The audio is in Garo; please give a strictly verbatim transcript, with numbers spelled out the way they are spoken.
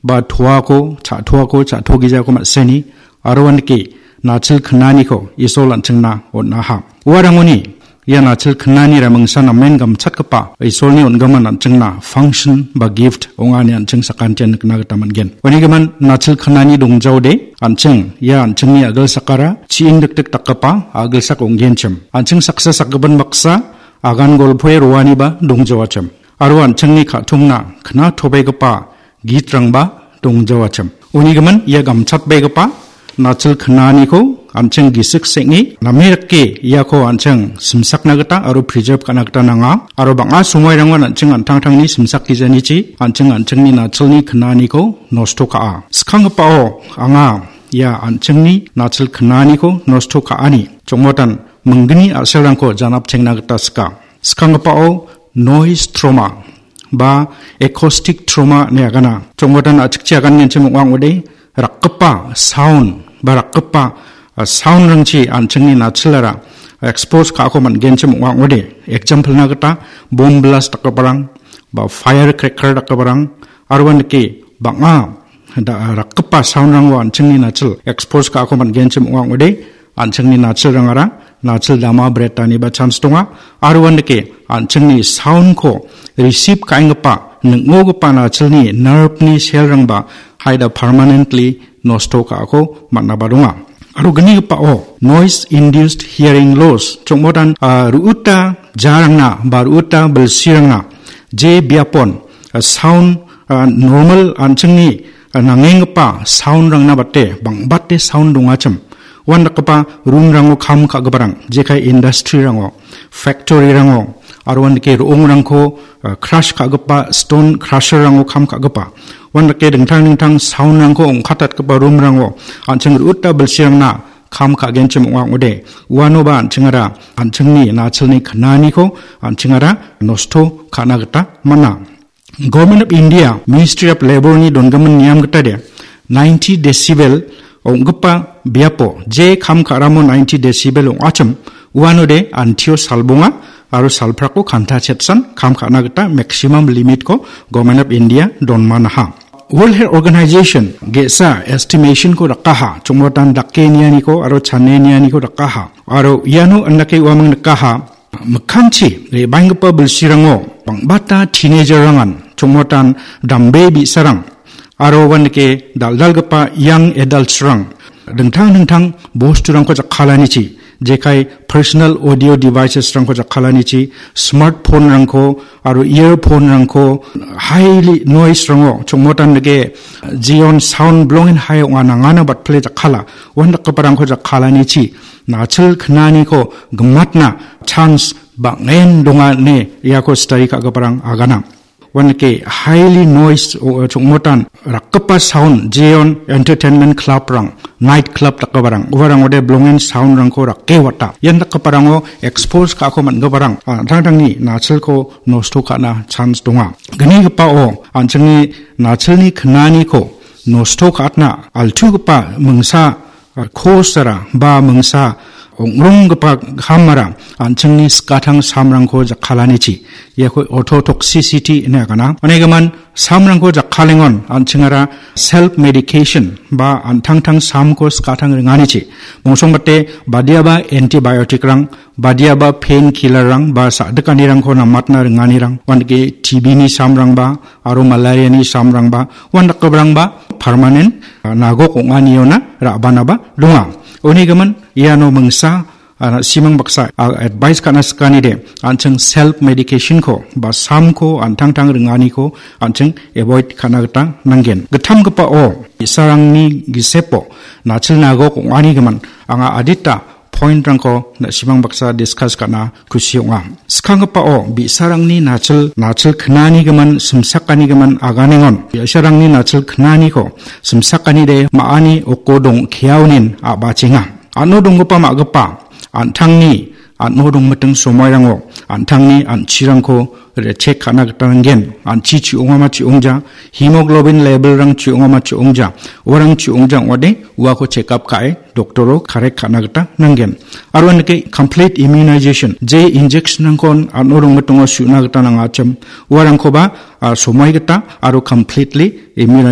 ba toako, cha-, toako, cha·togijako ma·seni, aro uandake nachil knaniko Isol an·chingna on·aha. Uarangoni ia nachil knanira mingsa namen gamchatgipa Isolni on·gimin an·chingna function ba gift ong·a ine an·ching sakantian nikna gita man·gen. Unigimin nachil knani dongjaode an·ching ia an·chingni a·gilsakara chi·indikdik dakgipa a·gilsak ong·genchim. An·ching saksa sakgipin baksa agan golpoe roaniba dongjawachim. Aro an·chingni ka·tongna knatobegipa gitrangba dongjawachim. Unigimin ia gamchatbegipa nachil knaniko an·ching gisik seng·e name dake iako an·ching simsakna gita aro preserve ka·na gita nanga. Aro bang·a somoirangon an·ching an·tangtangni simsakgijanichi an·ching an·chingni nachilni knaniko nosto ka·a. Skanggipao anga ia an·chingni nachil knaniko nosto ka·ani chongmotan minggni a·selrangko janapchengna gita sika. Skanggipao noise trauma ba acoustic trauma ine agana. Chongmotan a·chikchi agangenchim ong·a ong·ode, rakgipa sound ba rakgipa, ah, sound-rangchi an·chingni nachilara expose ka·ako man·genchim ong·a ong·ode. Example-na gita bomb blast dakgiparang ba firecracker dakgiparang aro uandake bang·a da-, rakgipa sound-rango an·chingni nachil expose ka·ako man·genchim ong·a ong·ode. An·chingni nachilrangara nachil dama bretaniba chance donga. Aro uandake an·chingni sound-ko receive ka·enggipa, ning·ogipa nachilni nerve-ni cell-rangba haida permanently nosto ka·ako man·aba donga. Aro gnigipao noise induced hearing loss, chongmotan, ah, ru·uta jarangna ba ru·uta bilsirangna je biapon, ah, sound, ah, normal an·chingni, ah, nangenggipa sound-rangna bate bangbate sound dongachim. Uandakgipa room-rango kam ka·giparang, jekai industry-rango, factory-rango, aro uandake ro·ongrangko, ah, crush ka·gipa, stone crusher-rango kam ka·gipa, uandake dingtang dingtang sound-rangko ong·katatgipa room-rango an·ching ru·uta bilsirangna kam ka·genchim ong·a ong·ode, uanoba an·chingara an·chingni nachilni knaniko an·chingara nosto ka·na gita man·a. Government of India, Ministry of Labour-ni dongimin niam gitade ninety decibel ong·gipa biapo je kam ka·ramo ninety decibel ong·achim, uanode antio salbonga aro salprako kanta chetsan kam ka·na gita maximum limit-ko Government of India donmanaha. World Health Organization ge·sa estimation-ko dakaha, chongmotan dake nianiko aro chane nianiko dakaha. Aro iano andake uamang nikaha, mikkangchi re·baenggipa bilsirango bangbata teenager-rangan chongmotan dambe bi·sarang aro uandake dal·dalgipa young adults-rang dingtang dingtang bosturangko jakkalanichi, jekai personal audio devices-rangko jakkalanichi, smartphone-rangko aro earphone-rangko highly noise-rango chongmotan dake jeon sound blongen hai ong·a nangana batpile jakkala, uandakgiparangko jakkalanichi nachil knaniko gimatna chance bang·en donga ine iako study ka·giparang agana. Uandake highly noise, o, chongmotan rakgipa sound, jeon entertainment club-rang, night club dakgiparang, uarangode blongen sound-rangko rake wata. Ian dakgiparango expose ka·ako man·giparang, ah, an·tangtangni nachilko nosto ka·na chance donga. Gnigipao an·chingni nachilni knaniko nosto ka·atna altugipa mingsa, ah, cause-ara ba mingsa ong·ronggipa kamara an·chingni skatang samrangko jakkalanichi, iako ototoxicity ine agana. Unigimin samrangko jakkalengon an·chingara self medication ba an·tangtang samko skatang ringanichi. Bongsongbate badiaba antibiotic-rang, badiaba pain killer-rang ba sa·dikanirangko namatna ringanirang, uandake T B-ni samrangba, aro malaria-ni samrangba, uandakgiparangba permanent, ah, nagok ong·aniona ra·banaba donga. Unigimin iano mingsa, ah, na·simang baksa, ah, advice ka·na sikanide, an·ching self medication-ko ba samko an·tangtang ringaniko an·ching avoid ka·na gita nanggen. Gittamgipao bi·sarangni gisepo nachil nagok ong·anigimin anga adita point-rangko na·simang baksa discuss ka·na kusi ong·a. Skanggipao bi·sarangni nachil, nachil knanigimin, simsakanigimin aganengon bi·sarangni nachil knaniko simsakanide ma·ani oko dongkeaonin a·bachenga. An·o donggipa ma·gipa an·tangni an·o dongmiting somoirango an·tangni an·chirangko re-, check ka·na gita nanggen. An·chi chi·ongama chi·ongja, hemoglobin level-rang chi·ongama chi·ongja, uarang chi·ongja ong·ode uako check up ka·e doctor-o correct ka·na gita nanggen. Aro andake complete immunization, je injection-rangkon an·o dongmitingo su·na gita nangachim, uarangkoba, ah, somoi gita aro completely immunize